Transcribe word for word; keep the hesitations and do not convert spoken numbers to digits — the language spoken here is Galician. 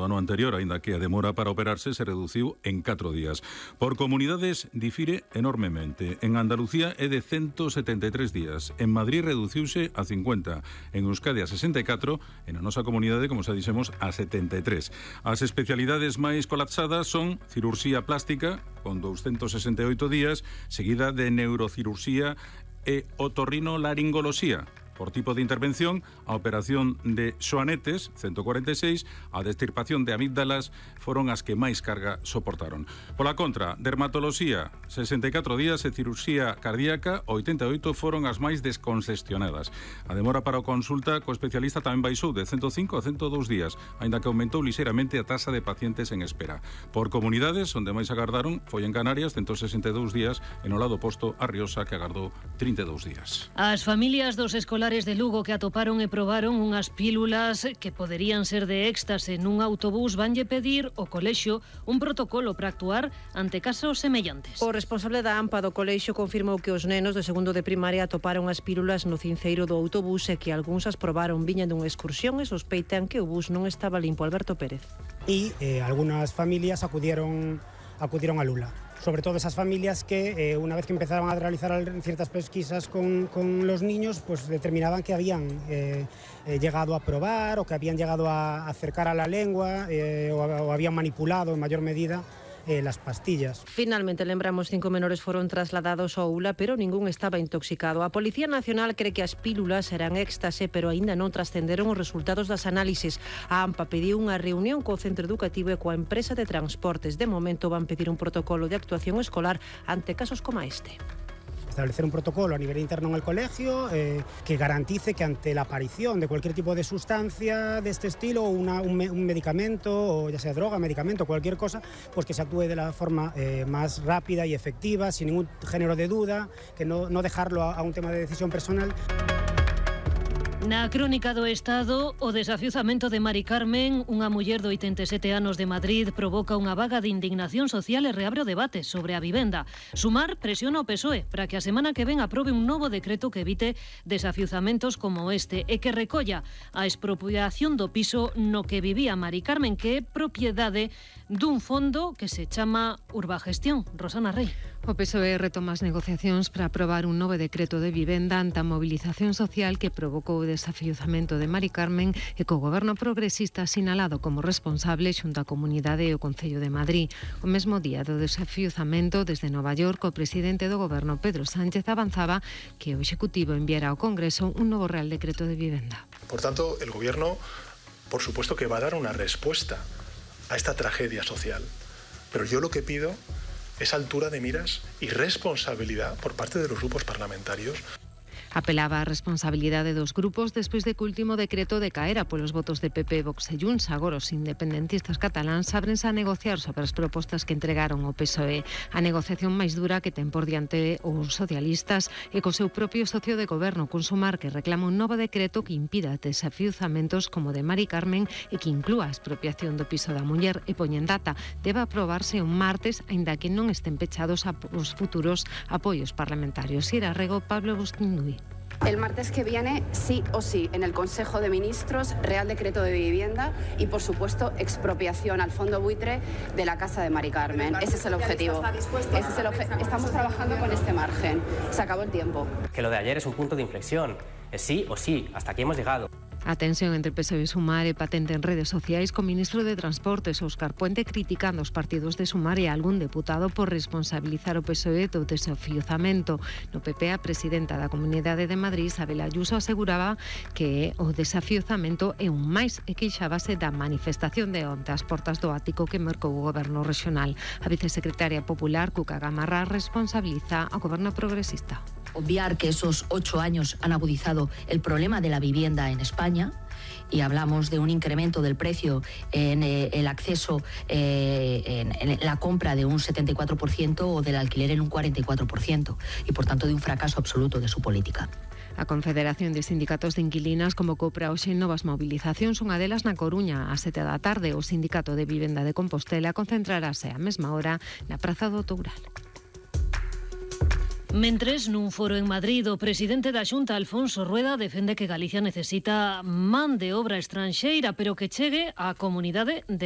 ano anterior, aínda que a demora para operarse se reduciu en catro días. Por comunidades difire enormemente. En Andalucía é de ciento setenta e tres días, en Madrid reduciuse a cincuenta, en Euskadi a sesenta e catro, e na nosa comunidade, como xa dixemos, a setenta e tres. As especialidades máis colapsadas son cirurxía plástica, con doscientos sesenta e oito días, seguida de neurocirurxía e otorrinolaringoloxía. Por tipo de intervención, a operación de xoanetes, ciento cuarenta e seis, a destirpación de amígdalas foron as que máis carga soportaron. Pola contra, dermatoloxía, sesenta e catro días e cirurxía cardíaca, oitenta e oito foron as máis descongestionadas. A demora para a consulta co especialista tamén baixou de ciento cinco a ciento dous días, aínda que aumentou lixeiramente a taxa de pacientes en espera. Por comunidades, onde máis agardaron foi en Canarias, ciento sesenta e dous días, e no lado oposto a Riosa, que agardou trinta e dous días. As familias dos escolares de Lugo que atoparon e probaron unhas pílulas que poderían ser de éxtase nun autobús vanlle pedir ao colexio un protocolo para actuar ante casos semellantes. O responsable da AMPA do colexio confirmou que os nenos de segundo de primaria atoparon as pílulas no cinceiro do autobús e que algúns as probaron viñan dunha excursión e sospeitan que o bus non estaba limpo. Alberto Pérez. E eh, algunas familias acudieron, acudieron a Lula. Sobre todo esas familias que eh, una vez que empezaban a realizar ciertas pesquisas con, con los niños, pues determinaban que habían eh, eh, llegado a probar o que habían llegado a acercar a la lengua eh, o, o habían manipulado en mayor medida Eh, las pastillas. Finalmente, lembramos, cinco menores foron trasladados ao ULA, pero ningún estaba intoxicado. A Policía Nacional cree que as pílulas eran éxtase, pero aínda non trascenderon os resultados das análises. A AMPA pediu unha reunión co centro educativo e coa empresa de transportes. De momento van pedir un protocolo de actuación escolar ante casos como este. Establecer un protocolo a nivel interno en el colegio eh, que garantice que ante la aparición de cualquier tipo de sustancia de este estilo, una, un, me, un medicamento, o ya sea droga, medicamento, cualquier cosa, pues que se actúe de la forma eh, más rápida y efectiva, sin ningún género de duda, que no, no dejarlo a, a un tema de decisión personal. Na crónica do Estado, o desafiuzamento de Mari Carmen, unha muller de oitenta e sete anos de Madrid, provoca unha vaga de indignación social e reabre o debate sobre a vivenda. Sumar presiona o P S O E para que a semana que ven aprobe un novo decreto que evite desafiuzamentos como este e que recolla a expropiación do piso no que vivía Mari Carmen, que é propiedade dun fondo que se chama Urbagestión. Rosana Rey. O P S O E retoma as negociacións para aprobar un novo decreto de vivenda ante a mobilización social que provocou o desafiuzamento de Mari Carmen e co goberno progresista sinalado como responsable xunto á comunidade e o Concello de Madrid. O mesmo día do desafiuzamento, desde Nova York, o presidente do goberno, Pedro Sánchez, avanzaba que o Executivo enviara ao Congreso un novo Real Decreto de Vivenda. Por tanto, el gobierno, por supuesto que va a dar una respuesta a esta tragedia social. Pero yo lo que pido es altura de miras y responsabilidad por parte de los grupos parlamentarios. Apelaba á responsabilidade dos grupos despois de que o último decreto decaera polos votos de P P, Vox e Junts. Agora os independentistas cataláns ábrense a negociar sobre as propostas que entregaron ao P S O E. A negociación máis dura que ten por diante os socialistas e co seu propio socio de goberno, Consumar, que reclama un novo decreto que impida desafiuzamentos como de Mari Carmen e que inclúa a expropiación do piso da muller e poñen data. Debe aprobarse un martes, aínda que non estén pechados os futuros apoios parlamentarios. Ira Rego, Pablo Bustinduy. El martes que viene, sí o sí, en el Consejo de Ministros, Real Decreto de Vivienda y, por supuesto, expropiación al fondo buitre de la casa de Mari Carmen. Ese es el objetivo. Ese es el obje- Estamos trabajando con este margen. Se acabó el tiempo. Que lo de ayer es un punto de inflexión. Es sí o sí. Hasta aquí hemos llegado. A tensión entre P S O E e Sumar é patente en redes sociais, co ministro de Transportes, Óscar Puente, criticando os partidos de Sumar e algún deputado por responsabilizar o P S O E do desafiuzamento. No P P, a presidenta da Comunidade de Madrid, Isabel Ayuso, aseguraba que o desafiuzamento é un máis e queixábase da manifestación de onte ás portas do ático que mercou o goberno regional. A vicesecretaria popular, Cuca Gamarra, responsabiliza ao goberno progresista. Obviar que esos ocho años han agudizado el problema de la vivienda en España, y hablamos de un incremento del precio en eh, el acceso, eh, en, en la compra de un setenta y cuatro por ciento o del alquiler en un cuarenta y cuatro por ciento, y por tanto de un fracaso absoluto de su política. A Confederación de Sindicatos de Inquilinas convocou para hoxe novas movilizacións, unha delas na Coruña. A sete da tarde, o Sindicato de Vivenda de Compostela concentrarase á mesma hora na Praza do Toural. Mentres, nun foro en Madrid, o presidente da Xunta, Alfonso Rueda, defende que Galicia necesita man de obra estranxeira, pero que chegue á comunidade de